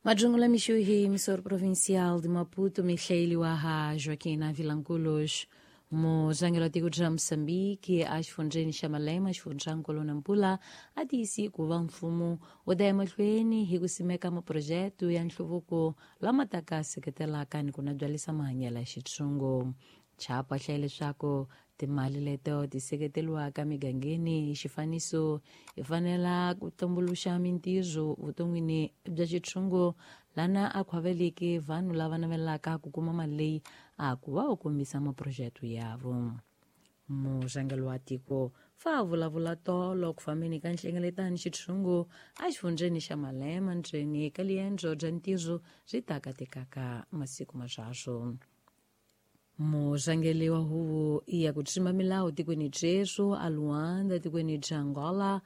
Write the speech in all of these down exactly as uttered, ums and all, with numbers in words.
Majungula mixuhi emissor provincial de Maputo, Michele Waha, Joaquim Vilanculos, muzangelo tiko bya Moçambique, exifundzheni xa Malema, xifundzankulu Nampula, a tiyisi ku va mfumo wu ta ya mahlweni hi ku simeka maphurojete ya nhluvuko lama taka seketelaka ni ku nabyalisa mahanyelo ya xitshungu. Chapa hlaya leswaku timali leto ti seketeriwaka migangeni hi xifaniso hi fanela ku tumbuluxa mintirho vuton'wini bya xitshungu lana a khwaveleki vanhu lava navelaka ku kuma mali leyi a ku va u kombisa maphurojete yavo. Murhangeri wa tiko fa vulavula tolo ku fambeni ka nhlengeletano xitshungu exifundzheni xa Malema ndzeni ka liendzo bya ntirho byi taka tekaka masiku maswaswo. Murhangeri wa huvo ya ku tshimba milawu tikweni Jesu a Luanda tikweni bya Angola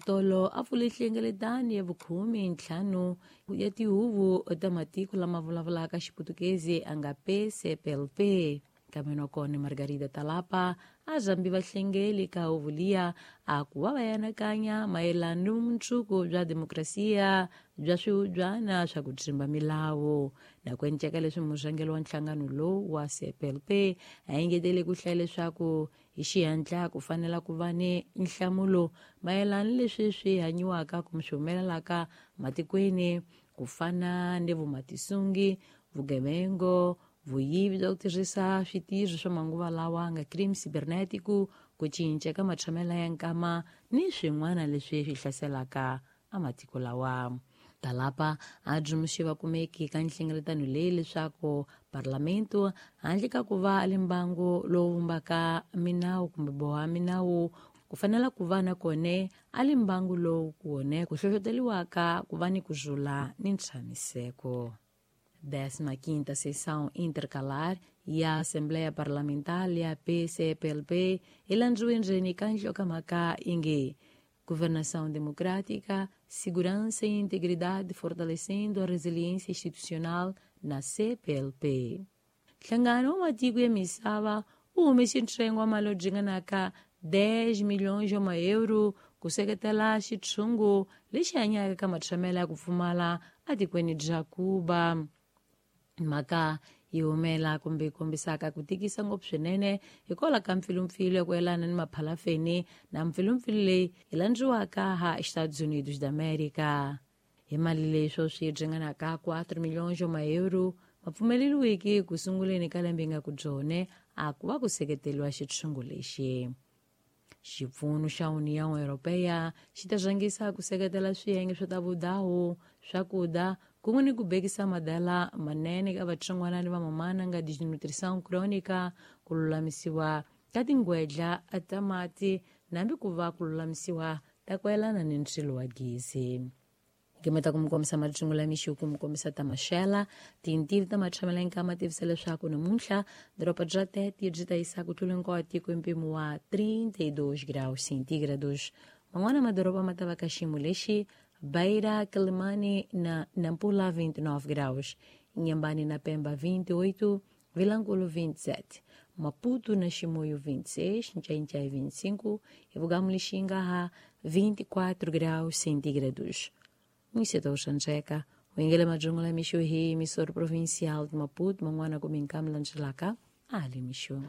tolo a pfule nhlengeletano ya vukhume ntlhanu ya tihuvo ta matiko lama vulavulaka Xiputukezi a nga P C P L P. Kambe kona Margarida Talapa a zambi vahlengeli ka huvo liya a ku va va anakanya mayelana ni vumundzuku bya demokrasiya bya swihubyana swa ku tshimba milawu. Na ku enceka leswi murhangeri wa nhlangano lowu wa C P L P a engetele ku hlaya leswaku hi xihatla ku fanela ku va ni nhlamulo mayelana ni leswi swi hanyiwaka kumbe swi humelelaka matikweni ku fana ni vumatisungi, vugevengo, vuyivi bya ku tirhisa switirho swa manguva lawa nga crime cibernético, ku cinca ka matshamelo ya nkama ni swin'wana leswi swi hlaselaka amatiko lawa. Talapa a dzumuxi va kumeki ka nhlengeletano leyi leswaku parlamento handle ka ku va le mbangu lowu vumbaka minawu kumbe boha minawu ku fanela ku va na kone a le mbangu lowu kone ku hlohloteriwaka ku va ni ku zula ni ntshamiseko. Décima quinta sessão intercalar e a Assembleia Parlamentar e a P C P L P elandziwe ndzeni ka nhlokomhaka yi nge Governação Democrática, Segurança e Integridade Fortalecendo a Resiliência Institucional na C P L P. Nhlangano wa matiko ya misava wu humese ntsengo wa mali yo dzinganaka dez milhões wa maeuro ku seketela xitshungu lexi hanyaka ka matshamelo ya ku pfumala etikweni bya Cuba. Mhaka yi humela kumbe yi kombisaka ku tikisa ngopfu swinene hikwalaho ka mpfilumpfilu ya ku yelana ni maphalafeni na mpfilumpfilu leyi yi landziwaka ha Estados Unidos da América. Hi mali leyi sweswi yi dzinganaka quatro milhões wa maeuro ma pfumeleriwiki ku sunguleni ka lembe nga ku byone a ku va ku seketeriwa xitshungu lexi. Xipfuno xa União Europeia xi ta rhangisa ku seketela swiyenge swa ta vudawu, swakudya kun'we ni ku bekisa madala manene ka vatsongwana ni vamamana nga desnutrição crônica, ku lulamisiwa ka tingwedla ta mati nambi ku va ku lulamisiwa ta ku yelana ni ndzilo wa gezi. Gimeta ku mi kombisa majungula mixo ku mi kombisa ta maxela tintivi ta matshamela nkama tivisa leswaku namuntlha doroba bya Tete byi ta yisa ku tlula hinkwawo tiko hi mpimo wa trinta e dois graus centígrados. Man'wana madoroba ma ta va ka xiyimo lexi: Beira, Quelimane na Nampula vinte e nove graus, Inhambane na Pemba vinte e oito, Vilanculo vinte e sete, Maputo na Chimoio vinte e seis, Nchai-Nchai vinte e cinco e Vugamu-Lixinga vinte e quatro graus centígrados. Mwiseta uxanjeka wengele majungula mixo hi emissora provincial de Maputo, man'wana ku minkam landzelaka ali mixo.